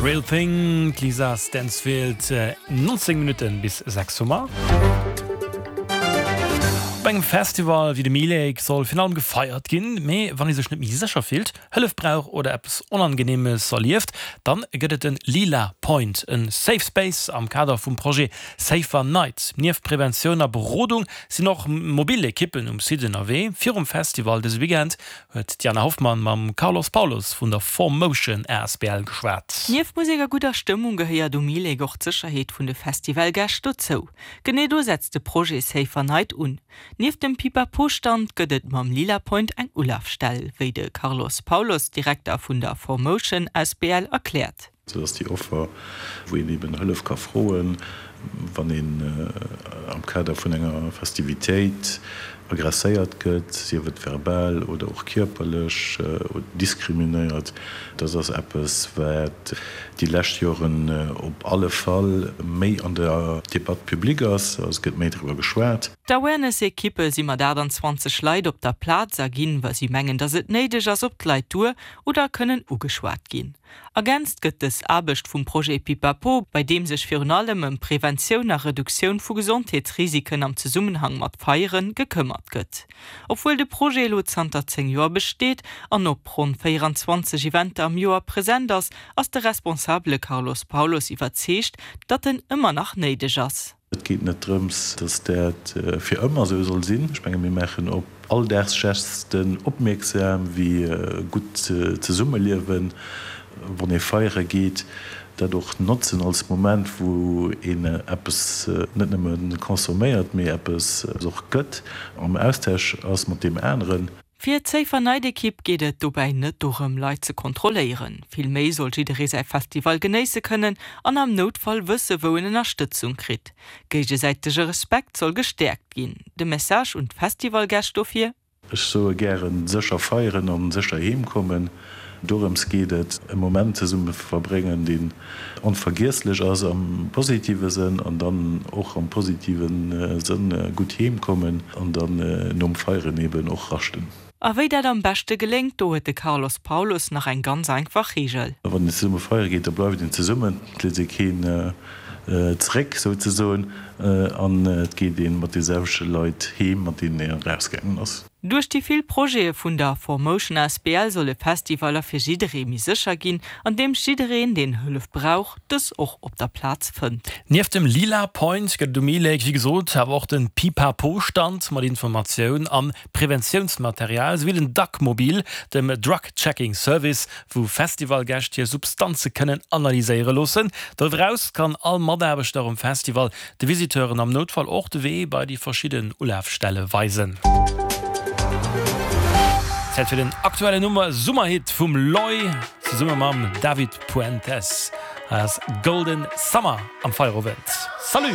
Real Thing, d'Lisa Stansfield, 19 Minutten bis 6 hu mer. Op engem Festival wéi dem E-Lake soll virun allem gefeiert ginn, mee wann ee sech net méi sécher fillt, Hëllef brauch oder eppes Onangeneemes erlieft, dann gëtt et den Lila Point, en Safe Space am Kader vum Projet Safer Night. Nieft Preventioun a Berodung sinn och mobil Ekippen um Site ënnerwee. Virum Festival dëse Weekend huet d'Jana Hoffmann mam Carlos Paulos vun der 4Motion asbl geschwat. Nieft Musek a gudder Stëmmung gehéiert um E-Lake och d'Sécherheet vun de Festivalgäscht dozou. Genee do setzt de Projet Safer Night un. Nieft dem Pipapo-Stand gëtt et mam Lila Point eng Ulafstell, wéi de Carlos Paulos, Direkter vun der 4Motion asbl erkläert. Dat ass déi Offer, wou een eben Hëllef ka froen, wann een am Kader vun enger Festivitéit agresséiert gëtt, sief et verbal oder och kierperlech, oder diskriminéiert. Dat ass eppes, wat déi lescht Joren op alle Fall méi an der Debatte publique ass, also et gëtt méi driwwer geschwat. D'Awareness-Ekippe si mat 28 Leit op der Plaz a ginn, wa si mengen, datt et néideg ass, op d'Leit duer oder kënnen ugeschwat ginn. Ergänzt gëtt dës Aarbecht vum Projet Pipapo, bei deem sech virun allem ëm Preventioun a Reduktioun vu Gesondheetsrisiken am Zesummenhang mat Feiere gekëmmert gëtt. Obwuel de Projet elo zanter 10 Joer besteet an op ronn 24 Eventer am Joer present ass, ass de Responsabele Carlos Paulos iwwerzeegt, datt en ëmmer nach néideg ass. Et geet net drëms, dass dat fir ëmmer esou soll sinn. Ech menge mir maachen op Alldagsgesten opmierksam, wéi gutt Zesummeliewen, wann ee feiere geet, dat och notzen als Moment, wou een eppes net nëmme consomméiert, mee eppes och gëtt, am Austausch ass mat deem aneren. Fir d'Safer Night Ekipp geet et dobäi net dorëm, Leit ze kontrolléieren. Vill méi soll jidderee säi Festival genéisse kënnen an am Noutfall wësse wou en Ënnerstëtzung kritt. Géigesäitege Respekt soll gestäerkt ginn. De Message un d'Festivalgäscht dofir? Ech soe gären, sécher feieren an sécher heem kommen. Dorëms geet et, e Moment zesumme verbréngen, deen onvergiesslech ass am positive Sënn an dann och am positive Sënn gutt heem kommen an dann nom Feieren eben och raschten. A wéi dat am beschte geléngt, do huet de Carlos Paulos nach eng ganz einfach Reegel. Wann een zesumme feiere geet, da bleift een zesummen, et léisst ee keen zeréck souzesoen an et geet ee mat de selwechte Leit heem, mat deenen een erausgaangen ass. Duerch déi vill Projete vun der 4Motion asbl solle Festivaller fir jidderee méi sécher ginn, andeems jiddereen, deen Hëllef brauch, dës och op der Plaz fënnt. Nieft dem Lila Point gëtt et um E-Lake wéi gesot awer och den Pipapo-Stand mat Informatioun an Preventiounsmaterial, souwéi den Duckmobil, dem Drug Checking Service, wou Festivalgäscht hir Substanze kënnen analyséiere loossen. Doriwwer eraus kann all Mataarbechter um Festival De Visiteuren am Noutfall och de Wee bei déi verschidden Ulafstelle weisen. Zäit fir den aktuellen Nummer Summerhit vum Loy zesumme mam David Puentes. Hei ass Golden Summer am Feierowend. Salut!